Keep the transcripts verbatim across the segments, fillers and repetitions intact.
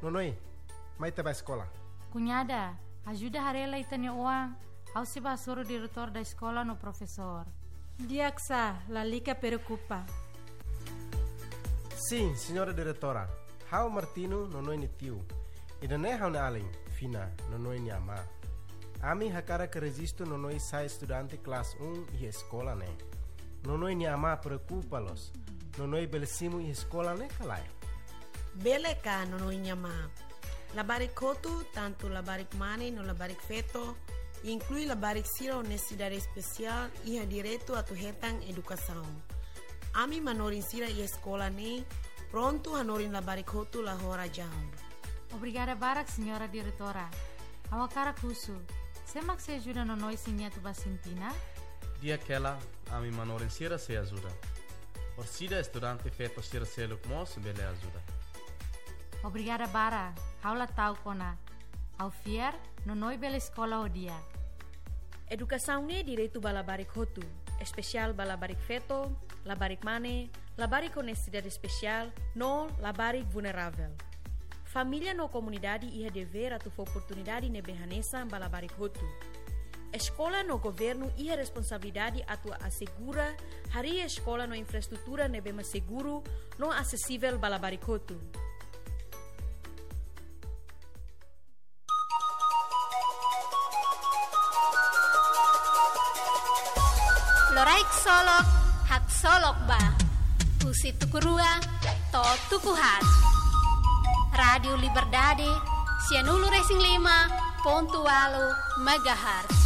Nonoi, mai ita bá eskola. Kuñada, ajuda haree lai ita-nia oan, ha'u sei bá hasoru diretór da eskola no profesór. Di'ak sá, lalika preokupa. Sin, señora diretora. Ha'u Martino, Nonoi nia tiu. Ida-ne'e ha'u-nia alin, Fina, Nonoi nia amá. Ami hakarak rejistu Nonoi sai estudante kelas um iha eskola ne'e. Nonoi nia amá preokupa loos. Nonoi bele simu iha eskola ne'e ka lae? Bele ka, Nonoi nia amá. Labarik hotu, tantu labarik mane no labarik feto, inklui labarik sira ho nesesidade espesiál, iha direitu atu hetan edukasaun. Ami manorin sira iha eskola ne'e prontu hanorin labarik hotu la ho razaun. Obrigada barak, señora diretora. Ha'u hakarak husu, sé mak sei ajuda Nonoi se nia atu bá Sintina? Di'ak hela, ami manorin sira sei ajuda. Orsida estudante feto sira seluk mós bele ajuda. Obrigada barak, ha'u la ta'uk ona. Ha'u fiar, Nonoi bele eskola ho di'ak. Edukasaun ne'e direitu ba labarik hotu, espesiál ba labarik feto, labarik mane, labarik ho nesesidade espesiál, no labarik vulneravel. Família no komunidade iha devér atu fó oportunidade ne'ebé hanesan ba labarik hotu. Eskola no governu iha responsabilidade atu asegura harii eskola no infraestrutura ne'ebé mak seguru no asesivel ba labarik hotu. Loraik solok, haksolok ba. Husi tuku rua to'o tuku haat. Rádiu Liberdade, sianulu resin lima pontu ualu megahertz.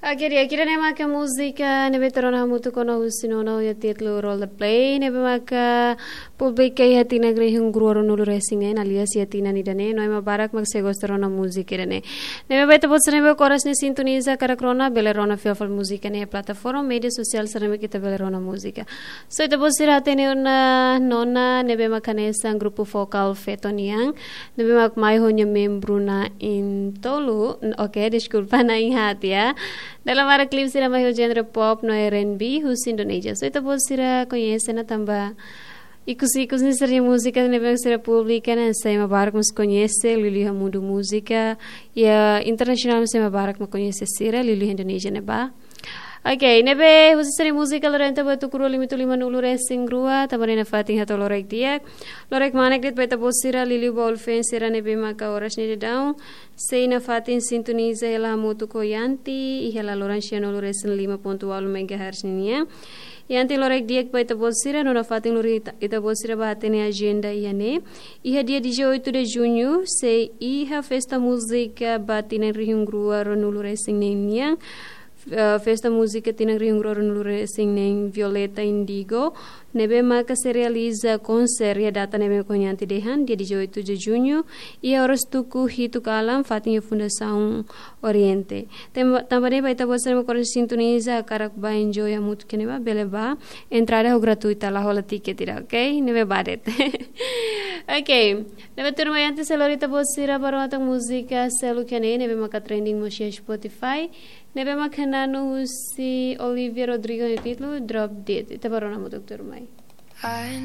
Oke, di'ak, ida-ne'e maka múzika ne'ebé ita rona hamutuk ona husi Nonoi, iha títulu Roll the Play, ne'ebé maka publika iha tinan rihun rua ruanulu resin neen, alias iha tinan ida-ne'e, no ema barak mak sei gosta rona múzika ida-ne'e. Ne'ebé ba ita-boot sira ne'ebé oras ne'e sintoniza hakarak rona, bele rona fila fali múzika ne'e iha plataforma média sosiál sira ne'ebé ita bele rona múzika. So, ita-boot sira hatene ona nona ne'ebé mak hanesan grupu vokál feto nian, ne'ebé mak mai ho nia membru na'in tolu, n-, oke, deskulpa, na'in haat, ya. Dala barak klip sira mai ho genre pop no R and B husi Indonézia. So, ita-boot sira koñese ona tanba ikus-ikus ne'e sira-nia múzika ne'ebé sira publika ne'e sai ema barak mós koñese, liuliu iha mundu múzika, iha internasionál mós ema barak mak koñese sira, liuliu iha Indonézia ne'ebá. Oke, ne'ebé husi sira-nia múzika lorenta ba tuku rua limitu limanulu resin rua, tanba ne'e nafatin hato'o loraik di'ak. Loraik manek de'it ba ita-boot sira, liuliu ba ulfeen sira ne'ebé maka oras ne'e daudaun sei nafatin sintoniza hela hamutuk ho Yanti, iha laloran sianulu resin lima pontu ualu megahertz ninian. Yanti, loraik di'ak ba ita-boot sira, no nafatin lori ita, ita-boot sira bá hatene ajenda iha ne'e. Iha dia dezoito de junho, sei iha festa múzika ba tinan rihun rua ruanulu resin neen nian. Eh, festa múzika tinan rihun rua ruanulu resin neen Violeta Indigo, ne'ebé maka sei realiza konser iha data ne'ebé mak Yanti dehan, dia dezoito de junho, iha oras tuku hitu kalan, fatin iha Fundasaun Oriente. Tem-, tanba ne'e ba ita-boot sira mak oras sintoniza, hakarak bá enjoy hamutuk iha ne'ebá, bele bá, entrada ho gratuita, la hola tiket ida, oke? Ne'ebé bá de'it. Oke, ne'ebé tuirmai, antes sei lori ita-boot sira ba rona tan múzika seluk iha ne'e, ne'ebé maka trending mós iha Spotify, ne'ebé maka na'an husi Olivia Rodrigo nia títulu Drop Dead. Ita bá rona hamutuk tuirmai.